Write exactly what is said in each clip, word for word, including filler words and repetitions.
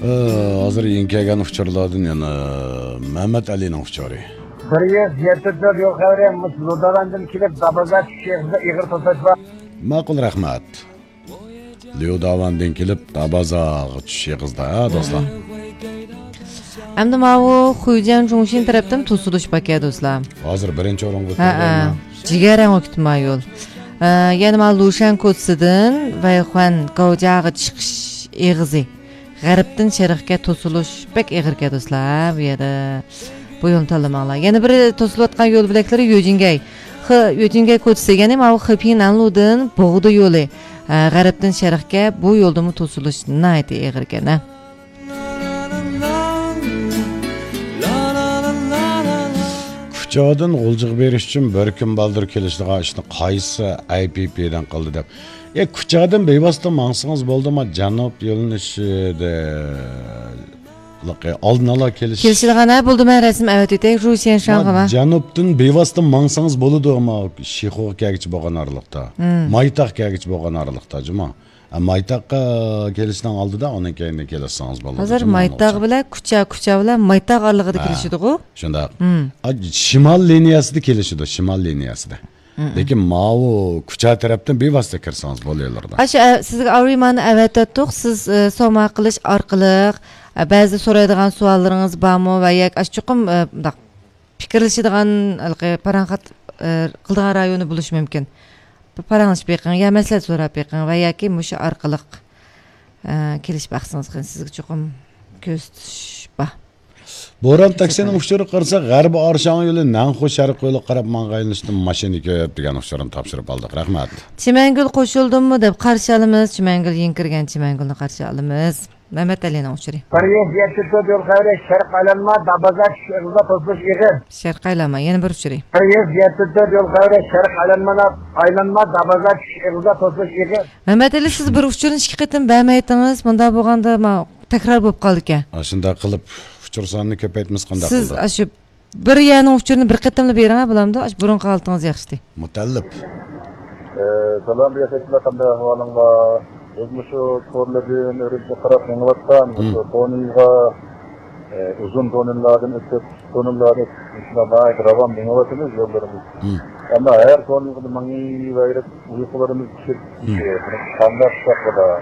ئە، ھازىر يېڭى كەلگەن ئۇچۇرلاردىن يەنە مەمەت ئەلىنىڭ ئۇچۇرى. بىر يۈز يەتتە تۆت يول خەۋىرى، مۇشۇ لۇداۋاندىن كېلىپ دابازا چۈشۈش ئېغىزىدا ئېغىر توسۇلۇش بار. ماقۇل، رەھمەت. ليۇداۋاندىن كېلىپ دابازاغا چۈشۈش ئېغىزىدا، ھە، دوستلار. ئەمدى ماۋۇ خۇيجيەن چۇڭشىن تەرەپتىن توسۇلۇش باركەن، دوستلار. ھازىر بىرىنچى ئورۇنغا ھە، كىرگەن. جىگەرەڭ ئۆتۈپ مايول. ئە، يەنە ماۋۇ لۇشەن كوچىسىدىن ۋەيخۇەن گاۋجياغا چىقىش ئېغىزى. غەربتىن شەرققە توسۇلۇش بەك ئېغىركەن، دوستلار، بۇ يەردە. بۇ يولنى تاللىماڭلار. يەنە بىر توسۇلۇۋاتقان يول بۆلەكلىرى يۆجىنگەي. خې-، يۆجىنگەي كوچىسى، يەنى ماۋۇ خېپىڭ نەنلۇدىن بوغدا يولى. ئە، غەربتىن شەرقكە بۇ يولدىمۇ توسۇلۇش ناھايىتى ئېغىركەن، ھە. كۇچادىن غۇلجىغا بېرىش ئۈچۈن بىر كۈن بالدۇر كېلىشىدىغان ئىشنى قايسى ئاي پى پى دىن قىلدى دەپ. ئە، كۇچادىن بىۋاسىتە ماڭسىڭىز بولدىما، جەنۇب يۆنىلىشىدە. ئالدىن ئالا كېلىش. كېلىشىدىغان، ھە، بولدى، مەن رەسىم ئەۋەتىۋېتەي، رۇشيەن شاڭغىما. جەنۇبتىن بىۋاسىتە ماڭسىڭىز بولىدۇ، ئەمما شىخۇغا كەلگۈچە بولغان ئارىلىقتا. مايتاغ كەلگۈچە بولغان ئارىلىقتا، جۇمۇ. ھە، مايتاغقا كېلىشنىڭ ئالدىدا، ئۇنىڭ كەينىدىن كېلىشسىڭىز بولىدۇ، ھازىر جۇمۇ، مايتاغ بىلەن كۇچا، كۇچا بىلەن مايتاغ ئارىلىقىدا ھە، كېلىشىدىغۇ. شۇنداق. ئا، شىمال لىنىيەسىدە كېلىشىدۇ، شىمال لىنىيەسىدە. لېكىن ماۋۇ كۇچا تەرەپتىن بىۋاسىتە كىرسىڭىز بولۇۋېرىدۇ. ئاشۇ، ئە، سىزگە ئاۋرىمانى ئەۋەتەتتۇق. سىز، ئە، سوما قىلىش ئارقىلىق، ئە، بەزىدە سورايدىغان سوئاللىرىڭىز بارمۇ ۋە ياكى ئاشۇ چوقۇم، ئە، مۇنداق پىكىرلىشىدىغان، ھېلىقى پاراڭ خەت-، ئە، قىلىدىغان رايونى بولۇشى مۇمكىن. بىر پاراڭلىشىپ بېقىڭ يا مەسلىھەت سوراپ بېقىڭ ۋە ياكى مۇشۇ ئارقىلىق، ئە، كېلىشىپ باقسىڭىز قېنى، سىزگە چوقۇم كۆرسىتىش بار. بوران تاكسىنىڭ ئۇچۇرىغا قارىساق، غەربىي ئارشاڭ يولى نەنخۇ شەرقىي يولىغا قاراپ ماڭغان يۆنىلىشتىن ماشىنا كۆپ دېگەن ئۇچۇرنى تاپشۇرۇپ ئالدۇق. رەھمەت. چىمەنگۈل قوشۇلدىممۇ دەپ قارشى ئالىمىز. چىمەنگۈل يېڭى كىرگەن چىمەنگۈلنى قارشى ئالىمىز. مەمەت ئەلىنىڭ ئۇچۇرى. بىر يۈز يەتتە تۆت يول خەۋىرى، شەرق ئايلانما، دابازا چۈشۈش ئېغىزىدا توسۇلۇش ئېغىر. شەرق ئايلانما، يەنە بىر ئۇچۇرى. بىر يۈز يەتتە تۆت يول خەۋىرى، شەرق ئايلانما، ئايلانما، دابازا چۈشۈش ئېغىزىدا توسۇلۇش ئېغىر. مەمەت ئەلى، سىز بىر ئۇچۇرنى ئىككى قېتىم بەرمەيتتىڭىز. مۇنداق بولغاندا، ما-، تەكرار بولۇپ قالىدىكەن. ئاشۇنداق قىلىپ، ئۇچۇر سانىنى كۆپەيتمىسە قانداق بولىدۇ؟ سىز ئاشۇ بىر يەرنىڭ ئۇچۇرىنى بىر قېتىملا بېرىڭە، بولامدۇ؟ ئاشۇ بۇرۇنقى ھالىتىڭىز ياخشىتى. مۇتەللىپ. ئە، سالام، رىياسەتچىلەر، قانداق ئەھۋالىڭلار؟ بىز مۇشۇ تورلىدىن ئۈرۈمچىگە قاراپ مېڭىۋاتقان، مۇشۇ تونېلغا، ئە، ئۇزۇن تونېللاردىن ئۆتۈپ، تونېللاردىن ئۆتۈپ، شۇنداق ناھايىتى راۋان مېڭىۋاتىمىز يوللىرىمىز. ئەمما ھەر تونېلغا ماڭىۋېرىپ ئۇيقۇلىرىمىز چۈشۈپ، ئە، قانداق قىلساق بولار؟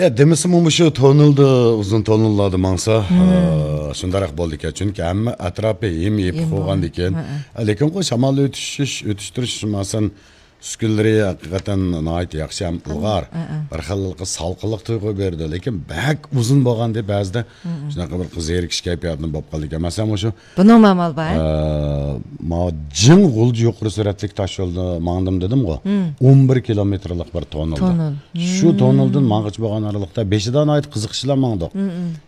يا، دېمىسىمۇ مۇشۇ تونېلدا، ئۇزۇن تونېللاردا ماڭسا، ئە، شۇنداقراق بولىدىكەن. چۈنكى ھەممە ئەتراپى ھىم يېپىق بولغاندىكىن. لېكىنغۇ شامال ئۆتۈشۈش، ئۆتۈشتۈرۈش، مەسىلەن، ئۈسكۈنىلىرى ھەقىقەتەن ناھايىتى ياخشى ھەم ئىلغار. بىر خىل سالقىنلىق تۇيغۇ بېرىدۇ. لېكىن بەك ئۇزۇن بولغاندا بەزىدە شۇنداق بىر زېرىكىش كەيپىياتىنى بولۇپ قالىدىكەن. مەسىلەن، مۇشۇ بۇنىڭ مامال بار، ھە؟ ئە، ما جىڭ غۇلجا يۇقىرى سۈرئەتلىك تاش يولدا ماڭدىم دېدىمغۇ. ئون بىر كىلومېتىرلىق بىر تونېلدا. تونېل. شۇ تونېلدىن ماڭغۇچە بولغان ئارىلىقتا بېشىدا ناھايىتى قىزىقىش بىلەن ماڭدۇق.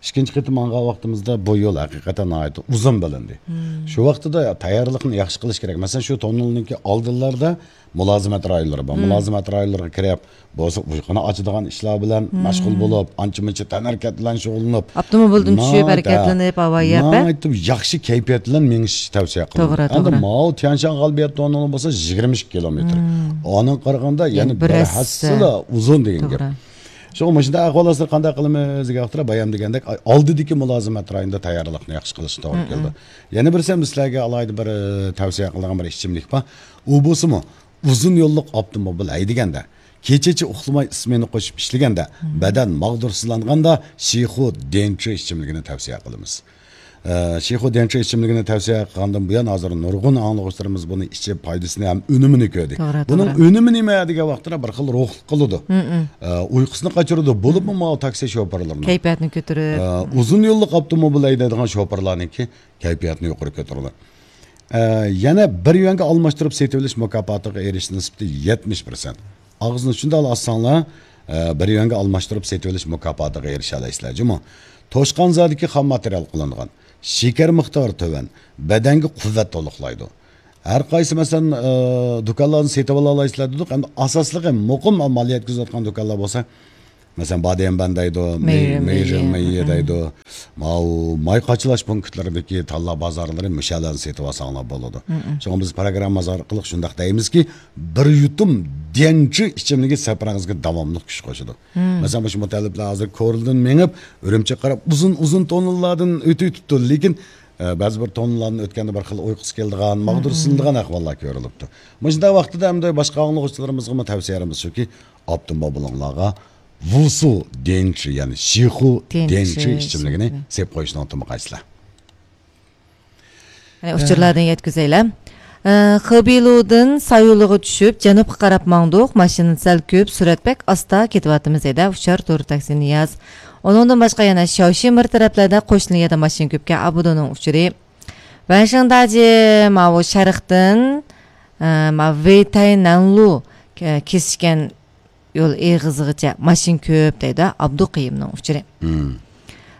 ئىككىنچى قېتىم ماڭغان ۋاقتىمىزدا بۇ يول ھەقىقەتەن ناھايىتى ئۇزۇن بىلىندى. شۇ ۋاقتىدا تەييارلىقنى ياخشى قىلىش كېرەك. مەسىلەن، شۇ تونېلنىڭكى ئالدىلاردا مۇلازىمەت رايونلىرى بار. مۇلازىمەت رايونلىرىغا كىرىپ، بولسا ئۇيقۇنى ئاچىدىغان ئىشلار بىلەن مەشغۇل بولۇپ، ئانچە-مۇنچە تەنھەرىكەت بىلەن شۇغۇللىنىپ، ئاپتوموبىلدىن چۈشۈپ، ناھايىتى، ھەرىكەتلىنىپ، ھاۋا يەپ، ناھايىتى ياخشى كەيپىيات بىلەن مېڭىش تەۋسىيە قىلىنىدۇ. توغرا، ئەمدى توغرا. ماۋۇ تيەنشان غالىبىيەت تونېلى بولسا يىگىرمە ئىككى كىلومېتىر. ئانىڭغا قارىغاندا يەنە بىر ھەسسىلا ئۇزۇن دېگەن گەپ. شۇڭا مۇشۇنداق ئەھۋال ئاستىدا قانداق قىلىمىز دېگەن ۋاقىتتا، بايام دېگەندەك، ئالدىدىكى مۇلازىمەت رايونىدا تەييارلىقنى ياخشى قىلىشقا توغرا كېلىدۇ. يەنە بىرسى، مەن سىلەرگە ئالاھىدە بىر، ئە، تەۋسىيە قىلىدىغان بىر ئىچىملىك بار. ئۇ بولسىمۇ، ئۇزۇن يوللۇق ئاپتوموبىل ھەيدىگەندە، كېچىچە ئۇخلىماي ئىسمېنا قوشۇپ ئىشلىگەندە، بەدەن ماغدۇرسىزلانغاندا شىخۇ دېنچۇ ئىچىملىكىنى تەۋسىيە قىلىمىز. ئە، شىخۇ دېنچۇ ئىچىملىكىنى تەۋسىيە قىلغاندىن بۇيان، ھازىر نۇرغۇن ئاڭلىغۇچىلىرىمىز بۇنى ئىچىپ، پايدىسىنى ھەم ئۈنۈمىنى كۆردى. توغرا، بۇنىڭ توغرا. ئۈنۈمى نېمە دېگەن ۋاقىتتا، بىر خىل روھلۇق قىلىدۇ. ئە، ئۇيقۇسىنى قاچۇرىدۇ. بولۇپمۇ ماۋۇ تاكسى شوپۇرلىرىنىڭ، كەيپىياتنى كۆتۈرۈپ. ئە، ئۇزۇن يوللۇق ئاپتوموبىل ھەيدەيدىغان شوپۇرلارنىڭكى كەيپىياتىنى يۇقىرى كۆتۈرىدۇ. ئە، يەنە بىر يۈەنگە ئالماشتۇرۇپ سېتىۋېلىش مۇكاپاتىغا ئېرىشىش نىسبىتى يەتمىش پىرسەنت. ئاغزىنى شۇنداقلا ئاچساڭلار، ئە، بىر يۈەنگە ئالماشتۇرۇپ سېتىۋېلىش مۇكاپاتىغا ئېرىشەلەيسىلەر جۇمۇ. توشقانزادىكى خام ماتېرىيال قىلىنغان، شېكەر مىقدارى تۆۋەن، بەدەنگە قۇۋۋەت تولۇقلايدۇ. ھەر قايسى، مەسىلەن، ئە، دۇكانلاردىن سېتىۋالالايسىلەر دېدۇق، ئەمدى ئاساسلىقى مۇقىم مال يەتكۈزۈۋاتقان دۇكانلار بولسا، مەسىلەن، باديەنبەن دەيدۇ، مېي-، مېيرىمېي، مېيرىمېي دەيدۇ. ماۋۇ ماي قاچىلاش پونكىتلىرىدىكى تاللا بازارلىرى مۇشۇلارنى سېتىۋالساڭلار بولىدۇ. مم. شۇڭا بىز پروگراممىمىز ئارقىلىق شۇنداق دەيمىزكى، بىر يۇتۇم ديەنچى ئىچىملىكى سەپىرىڭىزگە داۋاملىق كۈچ قوشىدۇ. مم. مەسىلەن، مۇشۇ مۇتەللىپلەر ھازىر كورلىدىن مېڭىپ، ئۈرۈمچىگە قاراپ ئۇزۇن-ئۇزۇن توننىلاردىن ئۆتۈۋېتىپتۇ. لېكىن، ئە، بەزى بىر توننىلارنى ئۆتكەندە بىر خىل ئۇيقۇسى كېلىدىغان، ماغدۇرسىنىدىغان ئەھۋاللار كۆرۈلۈپتۇ. مۇشۇنداق ۋاقتىدا ئەمدى باشقا ئاڭلىغۇچىلىرىمىزغىمۇ تەۋسىيەلىرىمىز شۇكى، ئاپتوموبىلىڭلارغا ۋۇسۇ ديەنچى، يەنى شىخۇ ديەنچى ديەنچى ئىچىملىكىنى ئىچىملىكىنى سېپ قويۇشنى ئۇنتۇمىغايسىلەر. يەنە ئۇچۇرلاردىن يەتكۈزەيلى. ئە، خېبېيلۇدىن سايۇلىغا چۈشۈپ، جەنۇبقا قاراپ ماڭدۇق. ماشىنا سەل كۆپ، سۈرئەت بەك ئاستا، كېتىۋاتىمىز ھەيدە، ئۇچار تۇر تاكسى نىياز. ئۇنىڭدىن باشقا يەنە شياۋشى مىر تەرەپلەردە قوشنا يەردە ماشىنا كۆپكەن، ئابىدونىڭ ئۇچۇرى. ۋەنشىڭداجى ماۋۇ شەرقتىن، ئە، ماۋۇ ۋېيتەي نەنلۇ، ئە، كېسىشكەن يول ئېغىزىغىچە ماشىنا كۆپ دەيدۇ، ئابدۇقېيۇمنىڭ ئۇچۇرى. مم.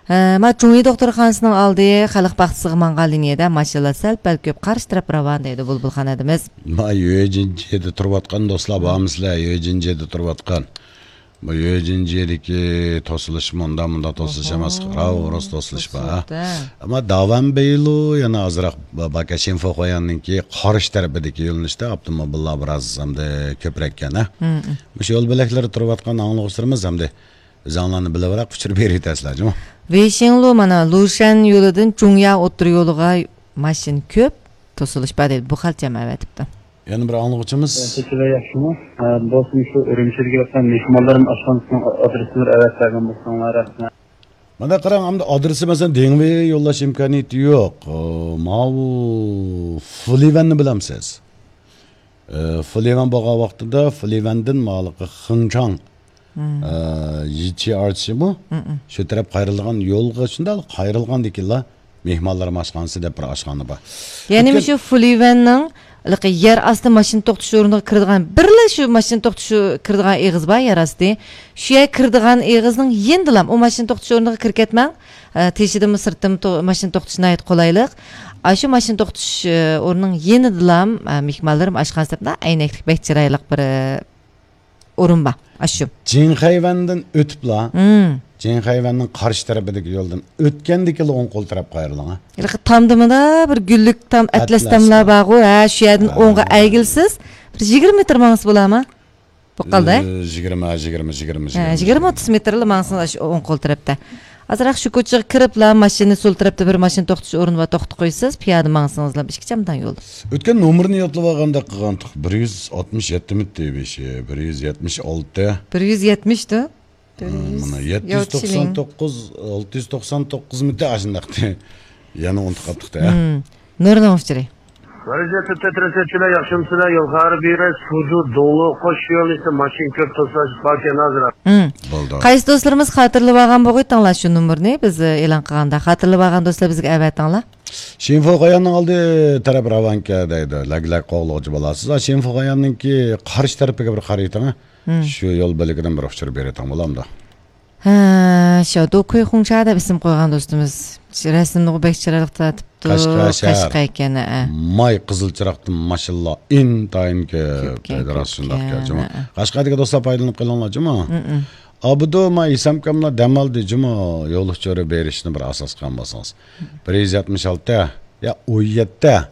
ئە، ما جۇڭيى دوختۇرخانىسىنىڭ ئالدى خەلق باغچىسىغا ماڭغان لىنىيەدە ماشىنىلار سەل-پەل كۆپ، قارشى تەرەپ راۋان دەيدۇ بۇلبۇل خان ھەدىمىز. ما يۆجىنجيېدە تۇرۇۋاتقان دوستلار بارمىسىلەر؟ يۆجىنجيېدە تۇرۇۋاتقان. بۇ يۆجىنجيېدىكى توسۇلۇش مۇنداق، مۇنداق توسۇلۇش ئەمەس، ئوھو. راۋۇرۇس توسۇلۇش بار. توسۇلۇپتۇ. ئەمما داۋەنبېيلۇ يەنە ئازراق با-، باكا شىنفوخۇەننىڭكى قارشى تەرىپىدىكى يۆنىلىشتە ئاپتوموبىللار بىراز ئەمدى كۆپرەككەن، ھە؟ مم. مۇشۇ يول بۆلەكلىرى تۇرۇۋاتقان ئاڭلىغۇچىلىرىمىز ئەمدى ئۆزۈڭلارنى بىلىۋېرەك، ئۇچۇر بېرىۋېتەرسىلەر جۇمۇ. ۋېيشىڭلۇ مانا لۇشەن يولىدىن جۇڭيا ئوتتۇرا يولىغا ماشىنا كۆپ، توسۇلۇش بار دەيدۇ. بۇ خەلچەم ئەۋەتىپتۇ. يەنە بىر ئاڭلىغۇچىمىز. سىلەر ياخشىمۇ؟ ئە، بولسىمۇ شۇ ئۈرۈمچىدىكى مېھمانلىرىم ئاشخانىسىنىڭ ئادرېسىنى بىر ئەۋەتىپ بەرگەن بولساڭلار، رەھمەت. مانا قاراڭ، ئەمدى ئادرېسى مەسىلەن دېڭىۋې يوللاش ئىمكانىيىتى يوق. ئۇ، ماۋۇ فۇلىۋەننى بىلەمسىز؟ ئە، فۇلىۋەن بولغان ۋاقتىدا فۇلىۋەندىن مالىقى خېڭچاڭ، مم. ئە، يىچى ئارچىمۇ؟ مم. شۇ تەرەپ قايرىلغان يولغا شۇنداق قايرىلغاندىكىنلا مېھمانلار ئاشخانىسى دەپ بىر ئاشخانا بار. يەنى ئۆتكەن مۇشۇ فۇلىۋەننىڭ ھېلىقى يەر ئاستى ماشىنا توختىتىش ئورنىغا كىرىدىغان، بىرلا شۇ ماشىنا توختىتىش كىرىدىغان ئېغىز بار، يەر ئاستى. شۇ يەر كىرىدىغان ئېغىزنىڭ يېنىدىلا، ئۇ ماشىنا توختىتىش ئورنىغا كىرىپ كەتمەڭ. ئە، تېشىدىمۇ سىرتتىمۇ تو-، ماشىنا توختىتىش ناھايىتى قولايلىق. ئاشۇ ماشىنا توختىتىش، ئە، ئورنىنىڭ يېنىدىلا، ئە، مېھمانلىرىم ئاشخانىسى دەپ ئەينەكلىك بەك چىرايلىق بىر، ئە، ئورۇن بار. ئاشۇ. جىڭخەيۋەندىن ئۆتۈپلا، مم. جىڭخەيۋەننىڭ قارشى تەرىپىدىكى يولدىن ئۆتكەندىكىلا ئوڭ قول تەرەپ قايرىلىڭ، ھە. ھېلىقى تامدىمىدا بىر گۈللۈك تام، ئەتلەس ئەتلەس تاملار بار. بارغۇ، ھە، شۇ يەردىن ھە. ئوڭغا ئەگىلسىز، بىر يىگىرمە مېتىر ماڭسا بولامۇ؟ بولۇپ قالدى. ئە، يىگىرمە، يىگىرمە، يىگىرمە، ھە، يىگىرمە، يىگىرمە، ئوتتۇز مېتىرلا ماڭسىڭىز، ئاشۇ ئوڭ قول تەرەپتە. ئازراق شۇ كوچىغا كىرىپلا، ماشىنىنى سول تەرەپتە بىر ماشىنا توختىتىش ئورنى بار، توختىتىپ قويىسىز، پىيادە ماڭسىڭىزلا ئىككى چامدان يول. ئۆتكەن نومۇرنى يادلاپ ئالغاندەك قىلغانتۇق. بىر يۈز ئاتمىش يەتتە مىتى بېشى، بىر يۈز يەتمىش ئالتە. بىر يۈز يەتمىشتۇ؟ بىر يۈز. مانا يەتتە يۈز توقسان توققۇز، ئالتە يۈز توقسان توققۇز مىتى ئاشۇنداقتى. يەنە ئۇنتۇپ قاپتۇق-دە. مم. نۇرنىڭ ئۇچۇرى. ۋەزىيەتتە تەترەسەتچىلەر ياخشىمۇسىلەر؟ يول خەۋىرى بېرىش، سۇجۇ، دولۇ، قوش يۆنىلىشتە ماشىنا كۆپ، توسۇلۇش باركەن ھازىر. مم. بولدى. قايسى دوستلىرىمىز خاتىرىلىۋالغان بولغىيتىڭلار شۇ نومۇرنى بىز ئېلان قىلغاندا؟ خاتىرىلىۋالغان دوستلار بىزگە ئەۋەتىڭلار. شىنفۇخۇەننىڭ ئالدى تەرەپ راۋانكە دەيدۇ. لەگلەك قوغلىغۇچى بولاسىز. شىنفۇخۇەننىڭكى قارشى تەرىپىگە بىر قارىيتىڭ. مم. شۇ يول بۆلىكىدىن بىر ئۇچۇر بېرىتىڭ بولامدۇ؟ ھە، شياۋدۇ كۇيخۇڭچا دەپ ئىسىم قويغان دوستىمىز. رەسىمنىغۇ بەك چىرايلىق تارتىپتۇ. قەشقەر شەھەر. قەشقەر ئىكەن، ھە. ماي قىزىل چىراغدىن ماشىنىلار ئىنتايىن كۆپ. كۆپكەن، دەيدۇ، راست شۇنداق كۆپكەن، گەپ. ھە. قەشقەردىكى دوستلار پايدىلىنىپ قېلىڭلار جۇمۇ. مم. ئابدۇ، ما ھېسامكاملار دەم ئالدى جۇمۇ. يول ئۇچۇرى بېرىشنى بىر ئاساس قىلغان بولسىڭىز. بىر يۈز يەتمىش ئالتە، يا ئون يەتتە.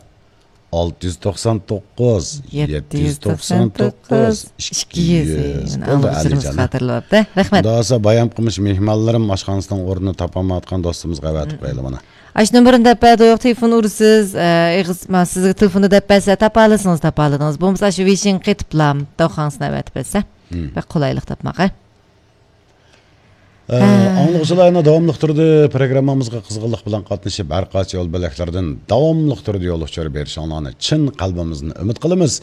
ئالتە يۈز توقسان توققۇز، يەتتە يۈز توقسان توققۇز، ئىككى يۈز. بولدى، ئاڭلىغۇچىلىرىمىز ئالىجان. خاتىرىلەپتۇ. رەھمەت. خۇدا خالىسا، بايام قىمىش مېھمانلىرىم ئاشخانىسىنىڭ ئورنىنى تاپالمايۋاتقان دوستىمىزغا ئەۋەتىپ قويايلى مانا. ئاشۇ نومۇرنى دەپ بەردۇق، تېلېفون ئۇرىسىز، ئە، ئېغىز، ما، سىزگە تېلېفوندا دەپ بەرسە، تاپالىسىڭىز، تاپالىدىڭىز. بولمىسا، ئاشۇ ۋېيشىڭ قېتىپلا، داۋخاڭسىنى ئەۋەتىپ بەرسە، مم. بەك قولايلىق تاپماق، ھە. ئە، ھە. ئاڭلىغۇچىلار، يەنە داۋاملىق تۈردە پروگراممىمىزغا قىزغىنلىق بىلەن قاتنىشىپ، ھەر قايسى يول بۆلەكلىرىدىن داۋاملىق تۈردە يول ئۇچۇرى بېرىشىڭلارنى چىن قەلبىمىزدىن ئۈمىد قىلىمىز.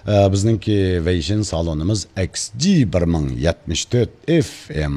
ئە، بىزنىڭكى ۋېيشىن سالونىمىز ئېكس جى بىر مىڭ يەتمىش تۆت ئېف ئېم.